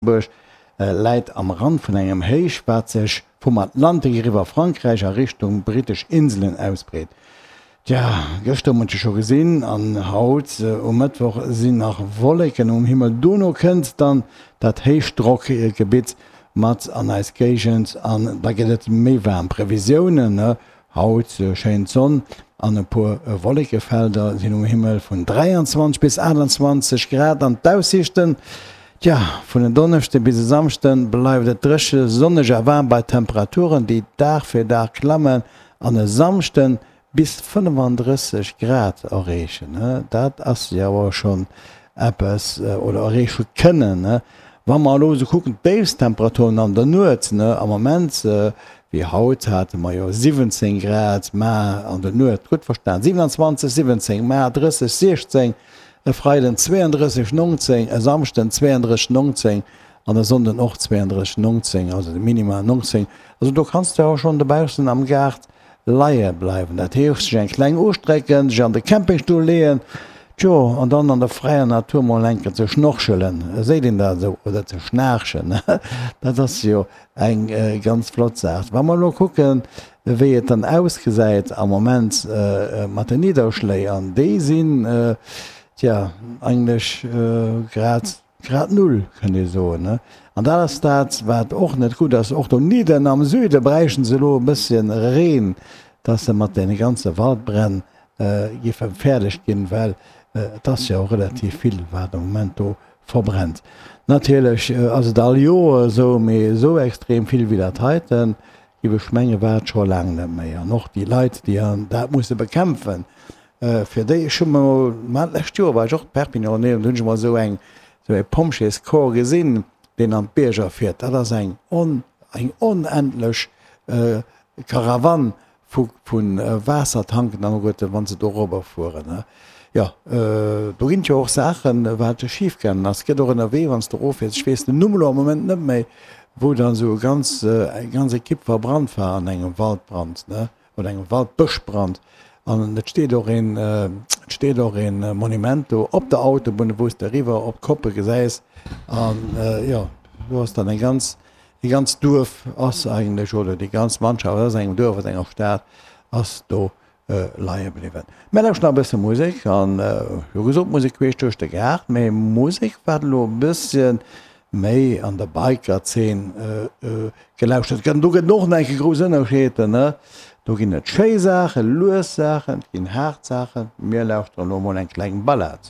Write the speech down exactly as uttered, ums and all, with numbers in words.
Lëtzebuerg läit am Rand vun engem Héich, wat sech vum Atlantik eriwwer Frankräich a Richtung brittesch Inselen ausbreet. Tja, gëschter hu mer et jo scho gesinn an haut um Mëttwoch sinn nach Wolleken um Himmel. Dono kënnt dann dat Héichdrockgebitt mat an eis Géigend an da gëtt et méi waarm. Previsiounen haut, schéin d'Sonn an e puer Wollekefelder sinn um Himmel, vun dräianzwanzeg bis aachtanzwanzeg Grad an d'Aussiichten, tja, vun en Donneschde bis e Samschde bleift et dréche, sonneg a waarm bei Temperaturen, déi Dag fir Dag klammen an e Samschde bis fënnefandrësseg Grad erreechen. Dat ass jo awer schonn eppes, oder erreeche kënnen. Wa mer elo esou kucken, d'Déifsttemperaturen an der Nuet, am Moment, wéi haut hate mer jo siwwenzéng Grad, mä an der Nuet, gutt verstan, siewenanzwanzeg, siwwenzéng, mä drësseg, siechzéng, e Freiden zweeëndrësseg, nongzéng, e Samschden zweeëndrësseg, nongzéng an e Sonnden och zweeëndrësseg, nongzéng, also de Minima nongzéng. Also do kanns de jo schonn dobaussen am Gaart leie bleiwen. Dat heescht, sech eng kleng ustrecken, sech an de Campingstull leeën, tjo, an dann an der fräier Natur mol enke ze schnorchelen, seet een dat esou, oder ze schnaarchen, dat ass jo eng ganz flott Saach. Wa mer elo kucken, wéi et dann ausgesäit am Moment mat den Nidderschléi, an déi sinn, tja, eigentlech grad Grad null, kënnt ee soen. An dat ass dat, wat och net gutt ass. Och donidden am Süde bräichten se elo e bësschen Reen, dass se mat deene ganze Waldbränn géife fäerdeg ginn, well et ass jo relativ vill, wat am Moment do verbrennt. Natierlech ass et all Joer esou, mee esou extrem vill wéi dat heiten, géif ech mengen, war et scho laang net méi. An och déi Leit, déi dat musse bekämpfen, Fir déi, ech hu mol, ma d'lescht Joer war ech och Perpignan ënnerwee an do hunn ech emol esou eng, esou e Pompjeescorps gesinn, deen an d'Bierger fiert. Dat ass eng on, eng onendlech Karawann vu, vu Waassertanken an alleguerten, wa se do erobber fueren. Jo, do ginn et jo och Saachen, wat schif gaangen ass. Et gëtt och ënnerwee, wann s de eroffiers, ech weess den Numm elo am Moment net méi, wou dann esou e ganz, eng ganz Ekipp verbrannt war an engem Waldbrand, ne. Oder engem Waldbëschbrand. An et steet och een, et steet och een Monument do op der Autobunn, wou s de eriwwer op d'Koppe gesäis. An jo, do ass dann eng ganz, e ganz Duerf ass eigentlech, oder déi ganz Mannschaft aus engem Duerf, aus enger Stad ass do leie bliwwen. Mä lauscht nach e bësse Musek an, jo gesot, Musek queesch duerch de Gaart, mä Musek wat elo e bësschen méi an der Biker-Zeen gelauschtert gëtt. An do gëtt et och nach eng Kéier grouss Ënnerscheeder, ne? Do ginn et schéi Saachen, lues Saachen, et ginn haart Saachen. Mir lauschteren elo mol eng kleng Ballad.